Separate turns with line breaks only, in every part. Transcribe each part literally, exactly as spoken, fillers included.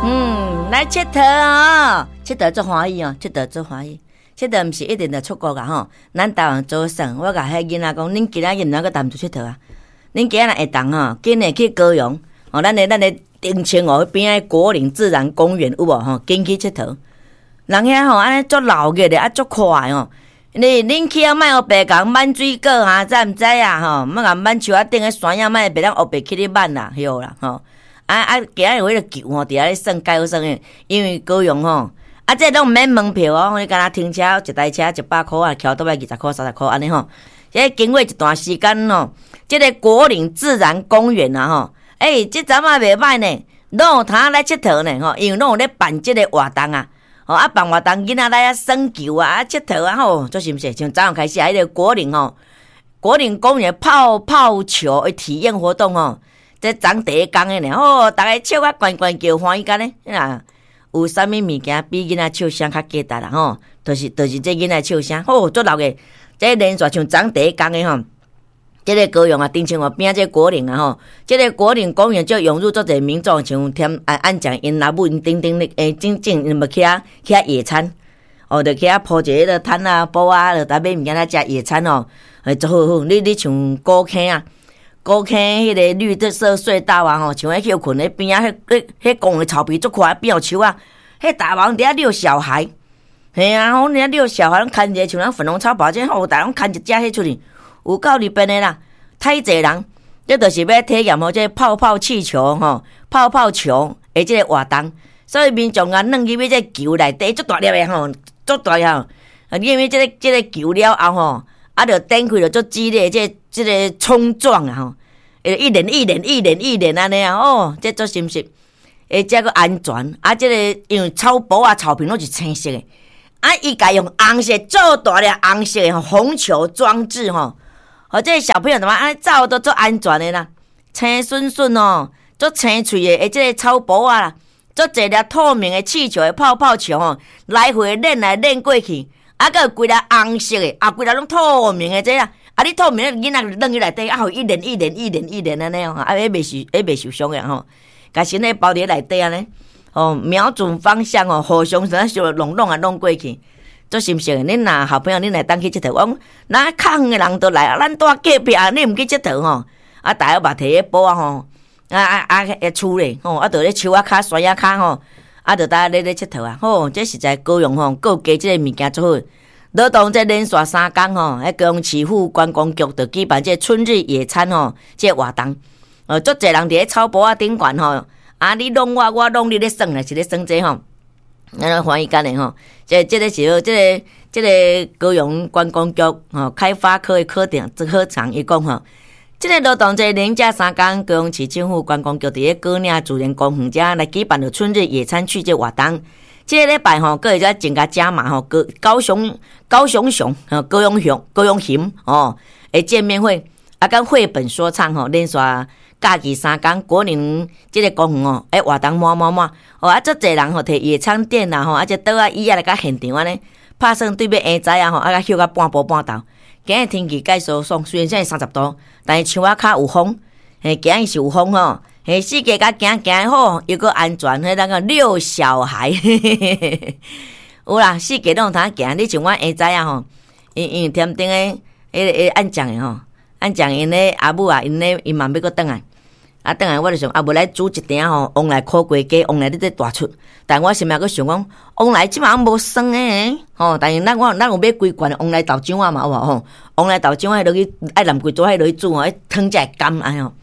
嗯，來𨑨迌哦，𨑨迌足歡喜哦，𨑨迌足歡喜。𨑨迌毋是一定著出國啊吼，咱台灣做耍，我共彼囡仔講，恁今仔日毋通閣淡出𨑨迌啊？恁今仔若會當吼，緊來去高雄，吼，咱的咱的澄清湖彼邊仔果嶺自然公園有無吼？緊去𨑨迌。人遐吼按呢足鬧熱的，啊足快吼。你恁去啊，莫烏白共挽水果啊，知毋知啊？吼，莫共挽樹仔頂的山仔，莫袂當烏白去咧挽啦，曉啦吼。啊啊，今仔日有彼個球吼，佇遐咧耍，較好耍的，因為高雄吼，啊，這攏毋免門票哦，你敢若停車一台車一百箍啊，轎倒來二十箍、三十箍按呢吼。這經過一段時間吼，這個果嶺自然公園啊吼，欸，這陣仔袂䆀呢，攏有通來𨑨迌呢吼，因為攏有咧辦這個活動啊。吼啊，辦活動囡仔來遐耍球啊，啊，𨑨迌啊吼，足是毋是？像早上開始啊，彼個果嶺吼，果嶺公園泡泡球的體驗活動吼，這昨第一工的呢，吼，逐家笑甲懸懸叫，歡喜甲呢，啊，有啥物物件比囡仔笑聲較價值啦吼？就是就是這囡仔笑聲，吼，足鬧的，這連續像昨第一工的吼。這個高雄啊，澄清湖邊仔這個果嶺啊吼，這個果嶺公園就湧入足濟民眾，像添啊按講𪜶老母𪜶等等咧，欸，真正𪜶欲去遐去遐野餐，哦，就去遐鋪一个彼個攤啊、布啊，就逐買物件來食野餐哦，欸，足好好。你你像古坑啊，古坑彼個綠色隧道啊吼，像彼歇睏咧邊仔，彼彼彼公園草皮足闊，邊有樹仔，彼大王佇遐遛小孩，嘿啊，阮佇遐遛小孩，攏牽一个像咱粉紅超跑這吼，逐家攏牽一隻彼出去。有夠裡邊的啦，太濟人，這就是欲體驗吼，這泡泡氣球吼，泡泡球的這個活動，所以民眾啊，軟入去這球內底足大粒的吼，足大粒吼，入去這個這個球了後吼，啊，就展開著足激烈這個這個衝撞啊吼，一連一連一連一連按呢啊，哦，這足心實，而且閣安全，啊，這個因為草埔啊、草坪攏是青色的，啊，伊共用紅色做大粒紅色的紅球裝置吼。哦，這個小朋友怎麼按呢走都足安全的啦，青順順哦，足青翠的，這個草埔啊，足濟粒透明的氣球的泡泡球吼，來回練來練過去，啊，閣有規粒紅色的，啊，規粒攏透明的這啊，啊，你透明的囡仔就軟去內底，啊，予伊一連一連一連一連按呢哦，啊，彼袂受，彼袂受傷的吼，共身體包佇內底按呢，哦，瞄準方向哦，互相啥小弄弄啊弄過去。足心適的，恁若好朋友，恁會當去𨑨迌。我講，若較遠的人都來啊，咱住隔壁，你毋去𨑨迌吼？啊，大家嘛提彼布仔吼，啊啊啊，厝咧吼，啊，佇咧樹仔跤、山仔跤吼，啊，就呾咧咧𨑨迌啊，吼，這實在高雄吼，閣有加這個物件足好。勞動節連續三工吼，彼高雄市府觀光局就舉辦這個春日野餐吼，這個活動，呃，足濟人佇咧草埔仔頂懸吼，啊，你弄我，我弄你咧耍咧，是咧耍這吼。咱攏歡喜干的吼，這這個時候，這個這個高雄觀光局吼開發科的科長、科長伊講吼，這個勞動節連假三工，高雄市政府觀光局佇咧果嶺自然公園遮來舉辦著春日野餐趣這活動。這個禮拜吼，閣會再增加加碼吼，高高雄高雄熊、高雄熊、高雄熊哦，的見面會啊，佮繪本說唱吼，連續假期三工，果嶺這個公園哦，欸活動滿滿滿，哦啊，足濟人吼提野餐墊啦吼，啊這桌仔椅仔來到現場按呢，拍算對欲下早啊吼，啊佮歇甲半晡半晝。今日天氣較舒爽，雖然才三十度，但是樹仔跤有風，嘿，今日是有風吼，嘿，四界共行行好，又閣安全，彼咱個遛小孩，有啦，四界攏有通行。你像阮下早啊吼，因因為添頂个彼個彼個按講的吼，按講𪜶咧阿母啊，𪜶咧𪜶嘛欲閣轉來。啊，轉來我就想，啊，無來煮一鼎吼，旺來苦瓜雞，旺來你這大出。但我心內閣想講，旺來這馬無酸的吼。但是咱我咱有買規罐的旺來豆漿仔嘛有無吼？旺來豆漿仔落去愛淋規桌仔落去煮吼，彼湯才會甘按呢吼。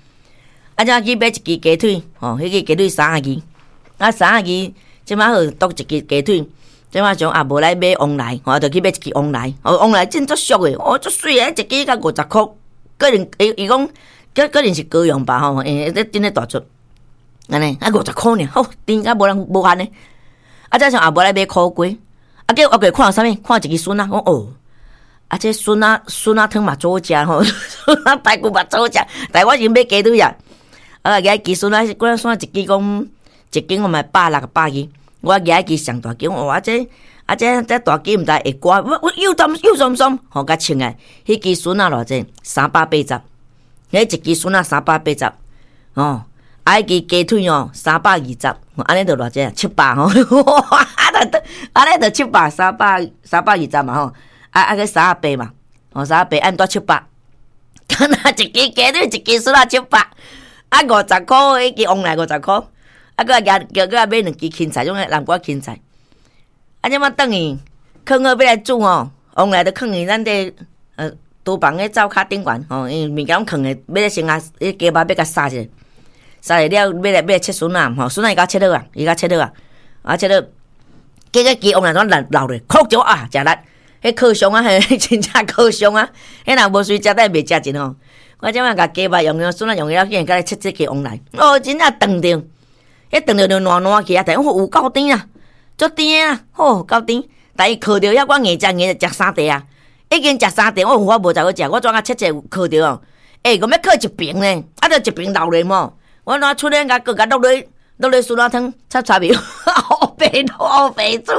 啊，才去買一支雞腿吼，彼支雞腿三十二，啊三十二，這馬好剁一支雞腿。這馬想啊，無來買旺來，我就去買一支旺來。哦，旺來真足俗的，哦，足媠的，一支才五十箍。可能伊伊講。可可能是高雄吧吼，欸，這真咧大出，按呢啊五十箍爾，好，甜甲無人無限呢。啊，才想也無來買苦瓜，啊，結果我過看啥物？看一支筍仔，講哦，啊，這筍仔筍仔湯嘛足好食吼，筍仔排骨嘛足好食，但我是買雞腿啊。啊，舉一支筍仔，嗰陣筍一支講一斤我嘛百六百二，我舉一支上大支，哇，這啊這這大支毋知會刮，我我又淡又酸酸，吼，共稱來，彼支筍仔偌濟？三百八十。彼一支筍仔三百八十，哦，啊，彼支雞腿哦，三百二十，按呢就偌濟啊？七百吼，啊，就按呢就七百，三百三百二十嘛吼，啊啊個三十八嘛，哦，三十八按多七百，敢若一支雞腿一支筍仔七百，啊五十箍，彼支旺來五十箍，啊，閣來叫閣來買兩支芹菜，種南瓜芹菜，啊，這擺轉去，囥好欲來煮吼，旺來就囥佇咱這呃廚房的灶跤頂懸吼，因為物件攏囥的，欲來先啊，彼雞肉欲共殺者。殺了了，欲來欲來切筍仔，吼，筍仔伊共切好啊，伊共切好啊，啊切好，結果雞旺來怎落落落，哭著啊，食力，彼靠傷啊，彼真正靠傷啊，彼若無隨食，等袂食盡吼。我這擺共雞肉用用，筍仔用了，竟然共來切這雞旺來，哦，真正斷著，彼斷著就爛爛去啊，但有夠甜啊，足甜啊，吼夠甜。但伊烤著遐，我硬食硬食三塊啊，已經食三塊，我我無才好食，我怎啊切切烤著哦？欸，我欲烤一爿呢，啊，就一爿留咧無。我哪出來共閣共落落落咧酸辣湯，插插面，烏白烏白煮，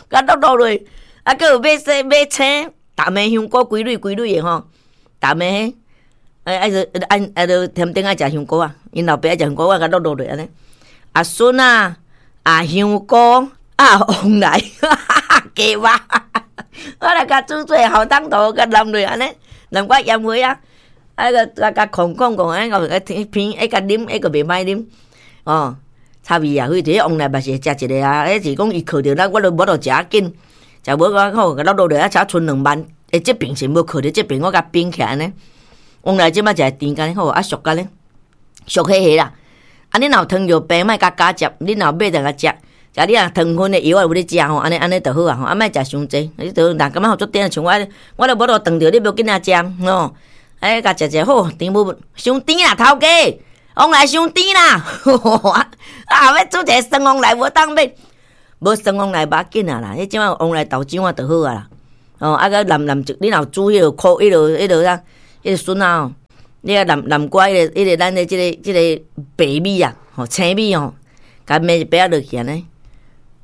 共落落落，啊，閣有買洗買青，淡的香菇規蕊規蕊的吼，淡的彼，哎愛著按愛著添丁愛食香菇啊，𪜶老爸愛食香菇，我共落落落按呢。啊筍仔，啊香菇，啊旺來，雞肉，我來共煮做好湯頭，共淋落按呢，淋寡鹽花啊。啊個共共控控控，啊個偏，彼共啉，彼個袂歹啉，哦，插味啊，非這旺來嘛是會食一个啊，彼是講伊烤著咱，我都無法度食較緊，食無講好，共落落來啊，才賰兩萬，欸，這爿是無烤著，這爿我共冰起來按呢。旺來這擺食甜干好，啊熟干呢，熟彼彼啦。啊，你若有糖尿病，莫共加食，你若有買就共食，食你若糖分的藥有咧食吼，按呢按呢就好啊吼，啊莫食傷濟，你就若感覺足甜，像我，我都無法度斷著，你無緊仔食吼。哎，共食食好，甜無傷甜啦，頭家，旺來傷甜啦！啊，欲煮一个酸旺來無當買，無酸旺來無要緊啊啦，彼這擺旺來豆漿仔就好啊啦。哦，啊閣淋淋一，你若有煮彼个苦，彼个彼个啥，彼个筍仔哦，你啊淋淋寡彼个彼个咱的這个這个白米啊，吼青米吼，共糜一白仔落去按呢。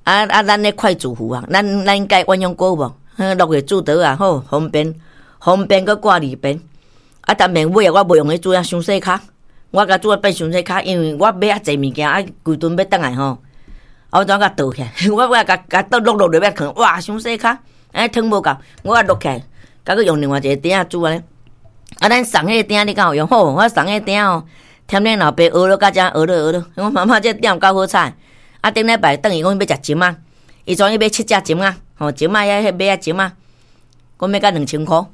啊啊，咱的快煮壺啊，咱咱蓋鴛鴦鍋無？落去煮桌啊，好方便，方便閣掛裡邊。啊，當面尾啊，我無用彼煮啊，傷細跤，我共煮啊變傷細跤，因為我買較濟物件，啊規頓欲轉來吼，啊我怎共倒起來？我我共共倒落落落欲囥，哇，傷細跤，哎湯無夠，我落起來，佮閣用另外一个鼎仔煮按呢。啊，咱送彼个鼎你敢有用？好，我送彼个鼎吼，添恁老爸學了甲遮學了學了。我媽媽這鼎有夠好彩。啊，頂禮拜轉去講欲食針仔，伊總欲買七隻針仔，吼針仔遐彼買啊針仔，講欲甲兩千箍。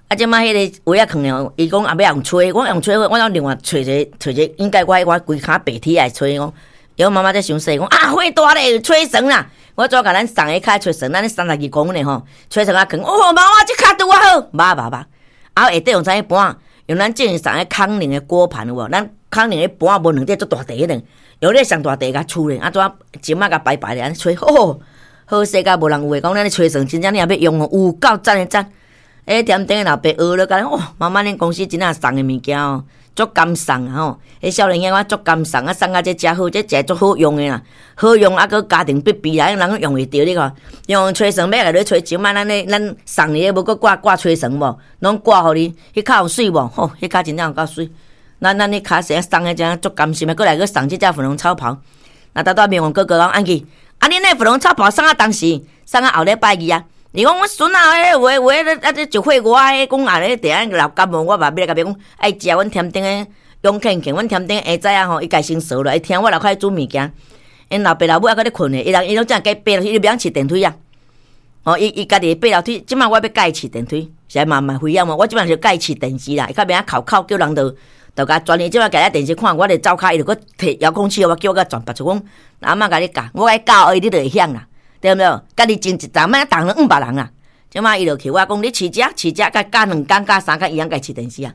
啊，這擺彼个位仔囥了，伊講啊欲用吹，我用吹，我另外揣一个，揣一个，應該我我規跤白鐵來吹講。伊講媽媽這傷細，講啊火大咧，吹床啦。我怎共咱送的較吹床，咱三十二公分的吼，吹床啊囥。哦，媽媽這跤拄仔好，捌捌捌。啊，下底用啥物盤？用咱之前送的康寧的鍋盤有無？咱康寧的盤無兩塊足大塊彼種，用咧上大塊共吹咧，啊怎針仔共排排咧按呢吹，吼，好勢甲無人有話講，咱咧吹床真正你若欲用哦，有夠讚的讚。欸，添頂的老爸學了，講哦，媽媽恁公司真正送的物件哦，足甘送啊吼！彼少年囝我足甘送啊，送甲這誠好，這誠足好用的啦，好用啊，閣家庭必備啦，人用會著你看，用吹床欲來咧吹針仔，咱咧咱送你的無閣掛掛吹床無？攏掛予你，彼跤有媠無？吼，彼跤真正有夠媠。咱咱彼跤是送的真足甘心的，閣來閣送這隻粉紅草袍。那拄拄明王哥哥講按去，啊，恁那粉紅草袍送啊當時，送啊後禮拜二啊。伊講阮孫仔彼有的有的，啊這一歲外的講啊咧，佇遐流感冒，我嘛欲來共伊講愛食阮添頂的勇健健，阮添頂的下早啊吼，伊家先趖落，伊聽我樓跤煮物件，𪜶老爸老母猶閣咧睏咧，伊人伊攏正計爬樓梯，伊袂曉飼電梯啊。哦，伊伊家己爬樓梯，這擺我欲教伊飼電梯，是嘛嘛危險無？我這擺就教伊飼電視啦，伊較袂曉哭哭叫人就就共轉伊。這擺共咧電視看，我咧走跤，伊就閣提遙控器，我叫我共轉，別就講阿嬤共你教，我共你教伊，你就會曉啦。對毋對？家己種一擔，莫當兩別人啊。這擺伊就去我講，你飼這飼這，共教兩工教三工，伊曉家飼電視啊。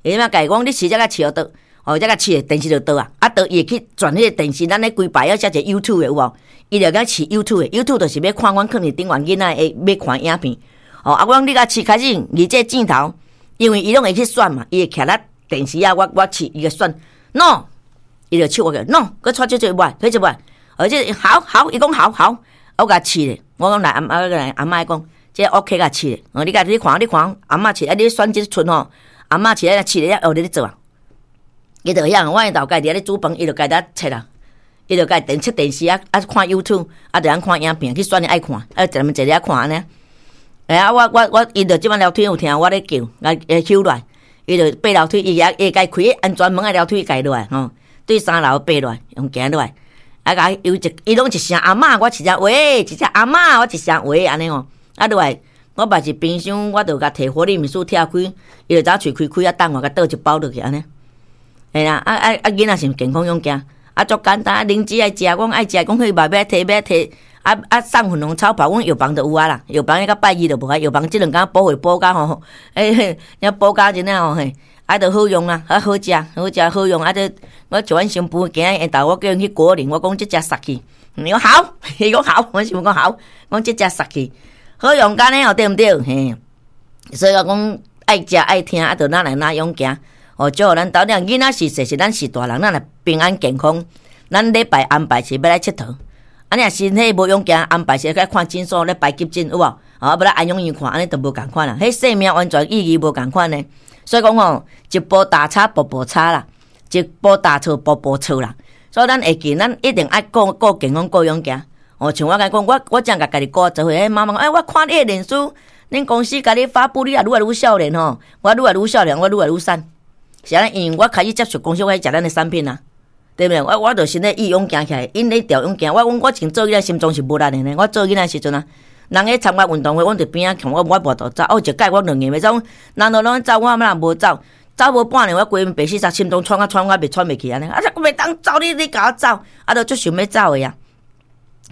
伊這擺共伊講，你飼這共飼予倒，哦，這共飼電視就倒啊。啊，倒伊會去轉彼个電視，咱咧規排要寫一個 YouTube 的有無？伊就共飼 YouTube 的，YouTube 就是欲看阮囥佇頂懸囡仔會欲看影片。哦，啊，我講你共飼開始，離這鏡頭，因為伊攏會去選嘛，伊會徛咧電視啊，我我飼伊會選，No，伊就手我個 No，閣掣這這無，彼這無，而且好好，伊講好好。我共飼咧，我講來阿阿來阿嬤講，這 OK 共飼咧，哦，你共你看你看，阿嬤飼，啊，你選這出吼，阿嬤飼啊，飼咧，學咧咧做啊，伊就遐，我𪜶老家佇遐咧煮飯，伊就家己切啦，伊就家電切電視啊啊看 YouTube，啊就通看影片，去選伊愛看，啊一人坐佇遐看按呢。哎啊，我我我，伊就這擺樓梯有聽我咧叫，來會搝落來，伊就爬樓梯，伊也會家開安全門的樓梯家落來吼，對三樓爬落來，用行落來，啊共伊有一，伊攏一聲阿嬤，我一聲喂，一聲阿嬤，我一聲喂按呢吼，啊落來，我嘛是冰箱，我就共提火力面書拆開，伊就早喙開開啊，等我共倒一包落去按呢。嘿啦，啊啊啊！囡仔是健康勇健，啊足簡單，啊靈芝愛食，阮愛食，講彼嘛欲提欲提，啊啊送粉紅草跑，阮藥房就有啊啦，藥房彼個拜二就無啊，藥房這兩工補貨補甲吼，欸，遐補甲真正吼嘿，啊就好用啊，啊好食，好食好用，啊這我像阮新婦今仔下晝我叫𪜶去果嶺，我講這隻殺去，伊講好，伊講好，我想講好，講這隻殺去，好用按呢哦，對毋對？嘿，所以我講愛食愛聽，啊就哪來哪勇健。哦，祝予咱兜囝囡仔是細是咱是大人，咱若平安健康，咱禮拜安排是欲來𨑨迌。啊，你若身體無勇健，安排是來看診所咧排急診有無？啊，欲來安養院看，按呢就無仝款啦。彼生命完全意義無仝款呢。所以講吼，一步大差步步差啦，一步大錯步步錯啦。所以咱會記，咱一定愛顧顧健康、顧勇健。哦，像我共你講，我我正共家己顧做伙，彼媽媽講，欸，我看你的臉書，恁公司共你發布，你也愈來愈少年吼，我愈來愈少年，我愈來愈瘦。是按呢，因為我開始接觸公司，我食咱的產品啊，對毋對？我我就是咧意勇行起來，𪜶咧調勇健。我講我前做囡仔心臟是無力的呢。我做囡仔時陣啊，人咧參加運動會，阮佇邊仔看，我我無法度走。哦，一擺我兩硬欲走，人都攏走，我嘛無走，走無半年，我規身白死心臟喘啊喘啊，袂喘袂去按呢。啊，這袂當走，你你共我走，啊，都足想欲走的啊。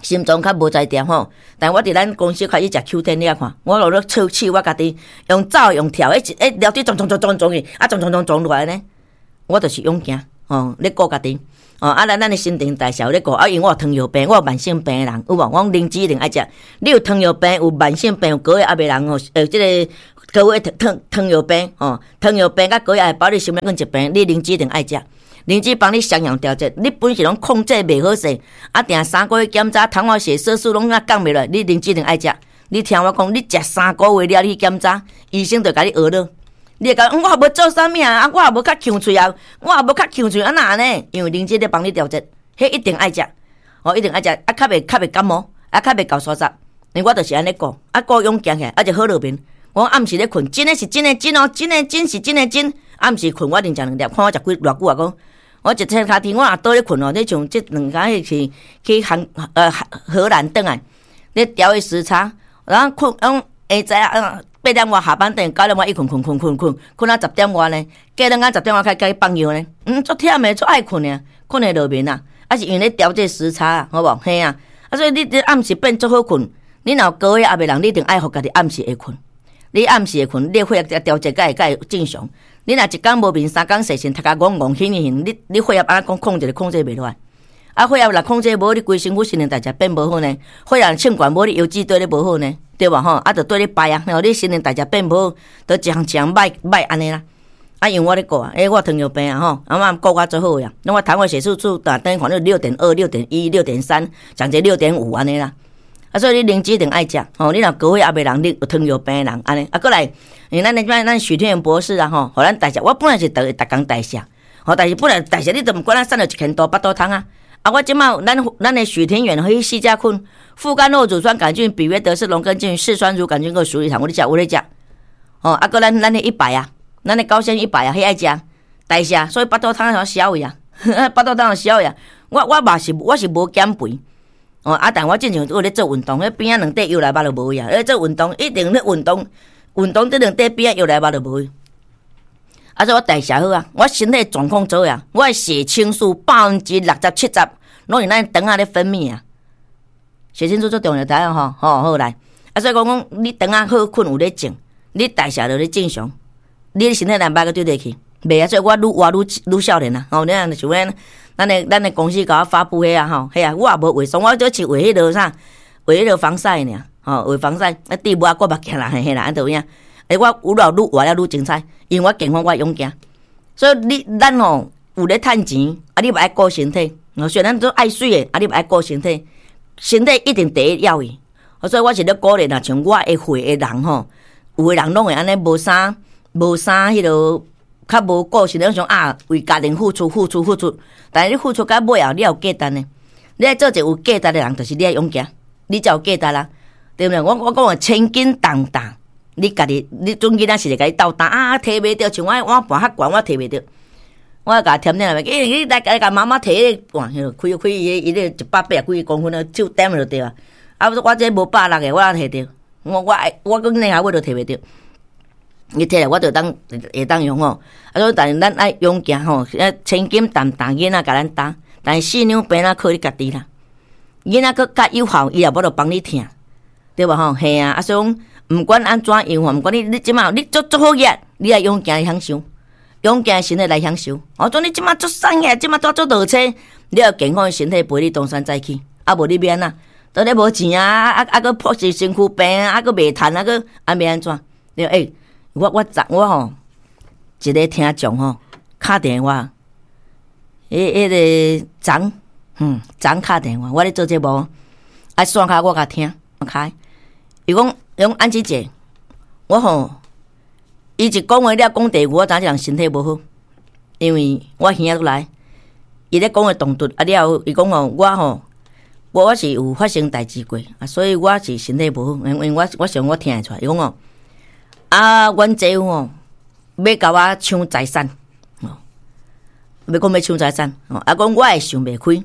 心臟較無才調吼，但我佇咱公司開始食 Q 十，你來看，我落咧測試我家己，用走用跳，彼一彼樓梯撞撞撞撞撞去，啊撞撞撞撞落來呢，我就是勇健吼，咧顧家己，哦，啊，咱咱的新陳代謝有咧顧，啊，因為我有糖尿病，我有慢性病的人，有無？我講靈芝一定愛食，你有糖尿病、有慢性病、有高血壓的人吼，呃，這個高血糖糖尿病吼，糖尿病佮高血壓包你心血管疾病，你靈芝一定愛食。靈芝幫你雙向調節，你本身攏控制袂好勢，啊，定三個月檢查，糖化血色素攏啊降袂落，你靈芝一定愛食。你聽我講，你食三個月了，你去檢查，醫生就共你學了。你會講，我也無做啥物啊，啊，我也無較強喙啊，我也無較強喙，啊哪按呢？因為靈芝咧幫你調節，彼一定愛食，哦，一定愛食，啊，較袂較袂感冒，啊，較袂厚沙沙。因為我就是按呢顧，啊，顧勇健起來，啊，就好落眠。我暗時咧睏，真的是真的真哦，真的真是真的真。暗時睏，我一定食兩粒，看我食幾偌久啊？講我一切跤天，我若倒咧睏哦，你像這兩工彼是去韓呃荷蘭轉來，咧調彼時差，然後睏，講下早啊八點外下班轉，九點外伊睏睏睏睏睏，睏到十點外呢，過兩工十點外開始放藥呢，嗯，足忝的，足愛睏的，睏會落眠啊，啊是因為咧調這時差啊，好無？嘿啊，啊所以你這暗時變足好睏，你若有高血壓的人，你一定愛予家己暗時會睏。你暗時會睏，你血壓調節才會才會正常。你若一工無眠，三工踅神，讀甲戇戇醒醒，你你血壓按怎講控制，控制袂落來。啊，血壓若控制無，你規身軀新陳代謝變無好呢？血壓稱懸無，你腰子對咧無好呢？對無吼？啊，就對咧排啊，吼，你新陳代謝變無好，就一項一項歹歹按呢啦。啊，因為我咧顧啊，欸，我糖尿病啊吼，啊，我顧較足好呀。那我糖化血色素逐等於看你六點二、六點一、六點三，上濟六點五按呢啦。啊，所以你靈芝一定愛食吼，你若高血壓的人，你有糖尿病的人按呢。啊，閣來，因為咱咱咱許天元博士啊吼，予咱代謝，我本來是逐逐工代謝，吼，但是本來代謝你都毋管咱瘦了一千多腹肚湯啊。啊，我這馬咱咱的許天元彼四隻菌，副干酪乳酸桿菌、比約德氏農根菌、嗜酸乳桿菌佮鼠李糖，我咧食，有咧食。吼，啊，閣咱咱的一百啊，咱的高纖一百啊，彼愛食代謝，所以腹肚湯會消去啊，腹肚湯會消去啊。我我嘛是我是無減肥。哦，啊！但我進前有咧做運動，彼邊仔兩塊藥來肉就無去啊。咧做運動，一定咧運動，運動這兩塊邊仔藥來肉就無去。啊，所以我代謝好啊，我身體狀況做啊，我的血清素百分之六十七十，攏是咱腸仔咧分泌啊。血清素足重要，知影吼？吼好來。啊，所以講講你腸仔好睏有咧靜，你代謝就咧正常，你的身體難歹閣對得去，袂啊！所以我愈活愈愈少年啊！吼，你若像阮咱的咱的公司共我發布彼啊吼，彼啊我也無化妝，我只是畫彼落啥，畫彼落防曬爾，吼畫防曬，啊滴無啊過目鏡啦，嘿啦，按就有影。欸，我愈老愈活了愈精彩，因為我健康我勇健，所以你咱吼有咧趁錢，啊你嘛愛顧身體。雖然咱都愛媠的，啊你嘛愛顧身體，身體一定第一要義。所以我是咧鼓勵，若像我的歲的人吼，有的人攏會按呢無啥無啥彼落，較無個性，攏想啊為家庭付出、付出、付出。但是你付出到尾後，你有價值呢？你愛做一個有價值的人，就是你愛勇行，你才有價值啦，對毋對？我我講話千斤重擔，你家己你準囡仔是會共你鬥擔啊，提袂著，像我碗盤較懸，我提袂著。我共添點來，欸，你來來共媽媽提彼個碗，開開伊伊個一百八十幾公分的手掂就對啊。啊，我這無百六个，我哪提著？我我我講兩下我就提袂著。你提來我就當會當用吼。啊，所以但是咱愛勇行吼，千斤重擔囡仔共咱擔，但是四兩病仔靠你家己啦。囡仔閣較有效，伊也無法度幫你疼，對無吼？嘿啊，啊所以講，毋管按怎樣吼，毋管你你這馬你足足好額，你愛勇行去享受，勇健的身體來享受。我講你這馬足瘦額，這馬拄足落車，你有健康的身體陪你東山再起，啊無你欲按怎？當你無錢啊，啊啊閣破是身軀病啊，閣袂趁啊，閣啊欲按怎？對欸，我我昨我吼一個聽眾吼敲電話，彼彼个昨嗯昨敲電話，我咧做節目，啊線卡我共聽，開，伊講伊講安姊姐，我吼伊一講話了講第二句，我知影這人身體無好，因為我耳仔來，伊咧講話動作啊了後，伊講吼我吼我我是有發生代誌過，啊所以我是身體無好，因為我我想我聽會出來，伊講吼啊，阮姐夫吼欲共我搶財產，哦，欲講欲搶財產，哦，啊講我會想袂開，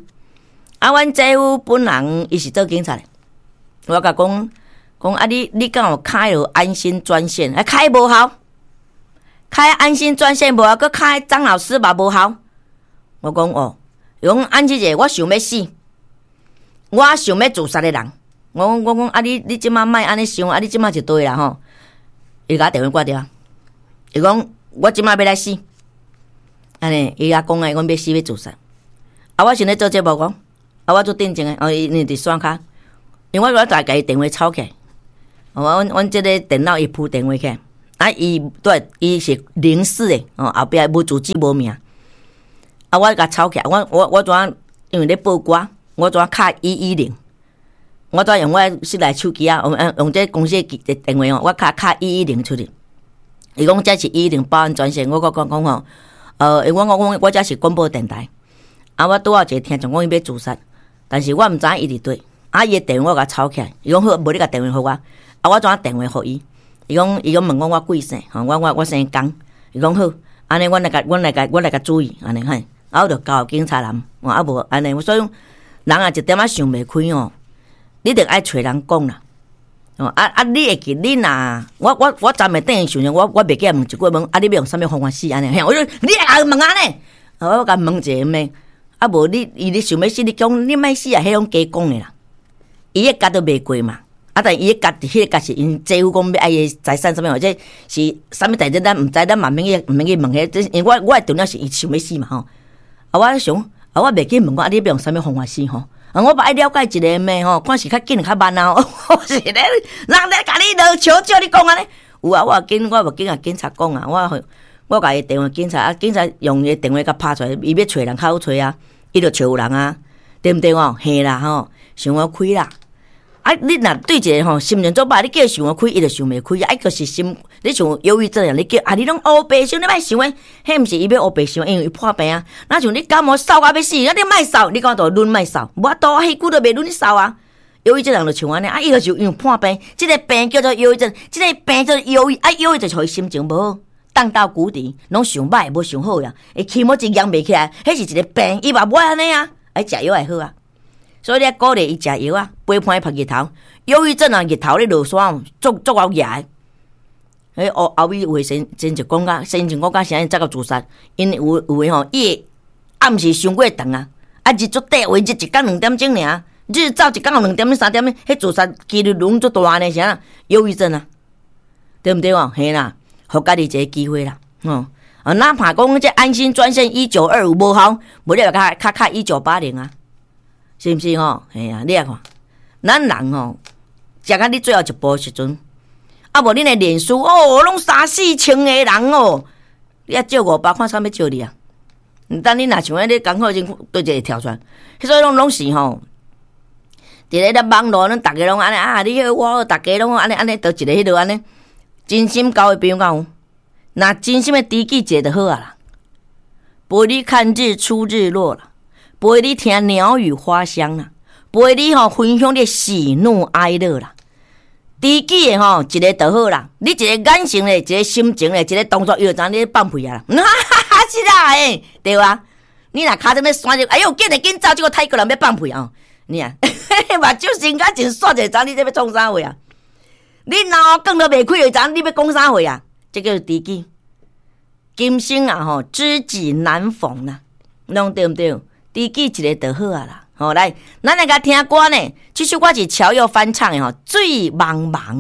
啊，阮姐夫本人伊是做警察的，我共講講啊你你敢有開了安心專線？啊開無效，開安心專線無效，閣開張老師嘛無效。我講哦，伊講安姊姐，我想欲死，我想欲自殺的人。我講我講啊你你這馬莫按呢想，啊你這馬就對啦吼。伊共我電話掛掉，伊講我這馬欲來死，按呢伊也講啊，伊講欲死欲自殺。啊，我先咧做節目講，啊，我做定靜的，哦，伊因佇線跤，因為我我大共伊電話抄起來，我阮阮這個電腦伊鋪電話起來，啊，伊對，伊是零四的，哦，後壁無住址無名，啊，我共抄起來，我我我怎因為咧報歌，我怎敲一一零，我怎用我室內手機啊，用用這公司的電話哦，我敲敲一一零出去。伊講這是一一零報案專線，我閣講講吼，呃，我我我我這是廣播電台，啊，我拄好一個聽眾講伊欲自殺，但是我毋知影伊佇佗，啊，伊的電話我共抄起來，伊講好，無你共電話予我，啊，我怎電話予伊？伊講伊講問講我貴姓，吼，我我我姓江，伊講好，按呢，阮來共阮來共阮來共注意，按呢嘿，啊，我就交予警察人，啊無按呢，所以人啊一點仔想袂開哦，你著愛揣人講啦。哦啊啊！你會記你若我我我昨暝頂想想，我我袂記問一句問，啊，你欲用啥物方法死按呢？嘿，我就你會問按呢？我共問一下咩？啊無你伊你想欲死，你講你莫死啊！彼種假講的啦，伊的結都袂過嘛。啊，但伊的結彼个結是𪜶姐夫講欲愛伊財產啥物，或者是啥物代誌，咱毋知，咱嘛免去毋免去問彼個。因為我我的重點是伊想欲死嘛吼。啊，我想啊，我袂記問我啊，你欲用啥物方法死吼？啊，我嘛愛了解一下咩吼，看是較緊較慢啊。我是咧，人咧共你落笑笑，你講按呢？有啊，我有緊，我有緊共警察講啊，我我共伊電話警察啊，警察用伊電話共拍出來，伊欲揣人較好揣啊，伊就揣有人啊，對毋對哦？嘿啦吼，想予開啦。啊，你若對一個吼心情做歹，你叫伊想予開，伊就想袂開。啊，就是心，你像憂鬱症人，你叫啊，你攏烏白想，你莫想的，彼毋是伊欲烏白想，因為伊破病啊。若像你感冒嗽甲欲死，啊，你莫嗽，你講就忍莫嗽，無法度，彼久都袂忍你嗽啊。憂鬱症人就像按呢，啊，伊就是因為破病，這個病叫做憂鬱症，這個病叫做憂鬱，啊，憂鬱就予伊心情無好，盪到谷底，攏想歹，無想好呀，伊起毛一揚袂起來，彼是一個病，伊嘛無愛按呢啊，愛食藥會好啊。所以你愛鼓勵伊食藥啊，陪伴伊曝日頭。憂鬱症啊，日頭咧落山，足足𠢕額的。彼後後尾有的先先就講甲，先前講甲啥才到自殺，𪜶有有的吼，伊會暗時傷過長啊，啊日足短，有的日一工兩點鐘爾，日照一工有兩點鐘三點鐘，彼自殺幾率攏足大呢，啥憂鬱症啊，對毋對哦？嘿啦，予家己一個機會啦，吼啊，哪怕講這安心專線一九二五無效，無你就較較較一九八零啊。是毋是吼？嘿啊，你來看，咱人吼，食到你最後一步的時陣，啊無恁的臉書哦，攏三四千個人哦，你啊借五百，看啥欲借你啊？等你若像按呢工課時，佗一個跳出來，所以攏攏是吼，佇咧咧網路，咱逐家攏按呢啊，你好我好，逐家攏按呢按呢，佗一个彼落按呢，真心交的朋友敢有？若真心的知己一个就好啊啦，陪你看日出日落啦，陪你聽鳥語花香啦，陪你吼分享你喜怒哀樂啦。知己的吼一個就好啦，你一個眼神咧，一個心情咧，一個動作，伊就知你咧放屁啊啦。哈哈哈，是啦，欸，對啊。你若跤踭欲旋就，哎喲，緊來緊走，這個泰國人欲放屁哦。你啊，目睭先甲真煞者，知你這欲創啥貨啊？你腦梗都袂開，就知你欲講啥貨啊？這叫知己。今生啊吼，知己難逢啦，攏對毋對？知己一個就好啊啦。好，來，咱來共聽歌呢。這首歌是喬佑翻唱的吼，《水茫茫》。